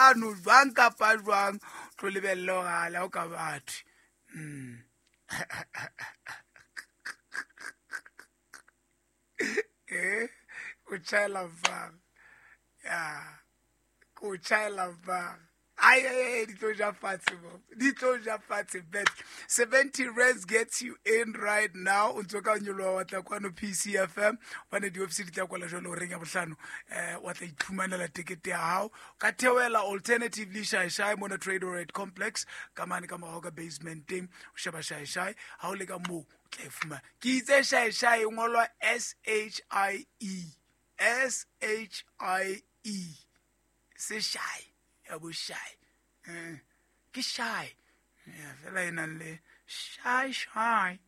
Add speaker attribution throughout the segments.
Speaker 1: Labohlano jwang kapa jwang tlo lebelle gore ala o ka batho. O tšhaela fang ya ko tšhaela fang ai ai di tlo ja fatshe mo di tlo ja fatshe bet 70 rands gets you in right now. O ntse ka nyoloha wa tla kwano PCFM bane di-office di tla kwala jalo horeng ya bohlano, wa tla iphumanela tekete ya hao ka theohela alternatively Shae mona Trade Rate Complex ka mane ka morao ka basementeng o sheba Shae ha o le ka moo o tla e fumana. Ke itse Shae e ngolwa S H I E S H I E se Shai ya bo Shai, ke Shai ya fela e nang le Shai Shai.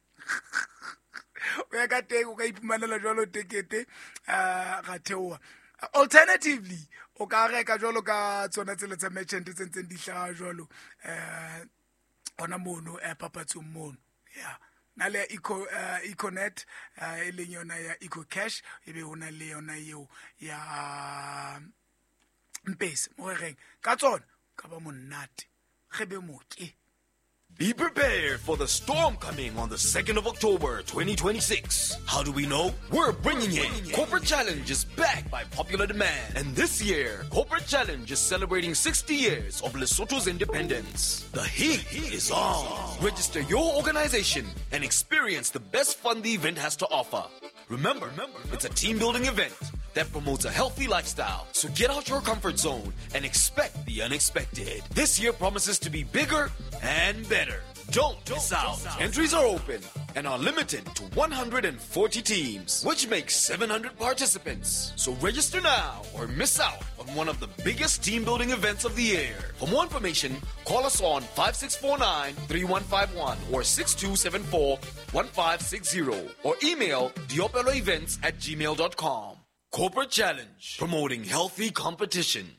Speaker 1: O ya ka teng o ka iphumanela jwalo tekete, ga theoha. Alternatively o ka reka jwalo ka tsona tsela tsa merchant tse ntseng di hlaha jwalo, hona mono, papatsong mono ya na le eco, Econet, e leng yona ya Eco Cash, ebe ho na le yona eo ya Mpesa mo re reng ka tsona ka ba monate ge be moke.
Speaker 2: Be prepared for the storm coming on the 2nd of October, 2026. How do we know? We're bringing it. Corporate Challenge is back by popular demand. And this year, Corporate Challenge is celebrating 60 years of Lesotho's independence. The heat is on. Register your organization and experience the best fun the event has to offer. Remember, it's a team-building event that promotes a healthy lifestyle. So get out your comfort zone and expect the unexpected. This year promises to be bigger and better. Don't miss out. Entries are open and are limited to 140 teams, which makes 700 participants. So register now or miss out on one of the biggest team-building events of the year. For more information, call us on 5649-3151 or 6274-1560 or email diopeloevents@gmail.com. Corporate Challenge, promoting healthy competition.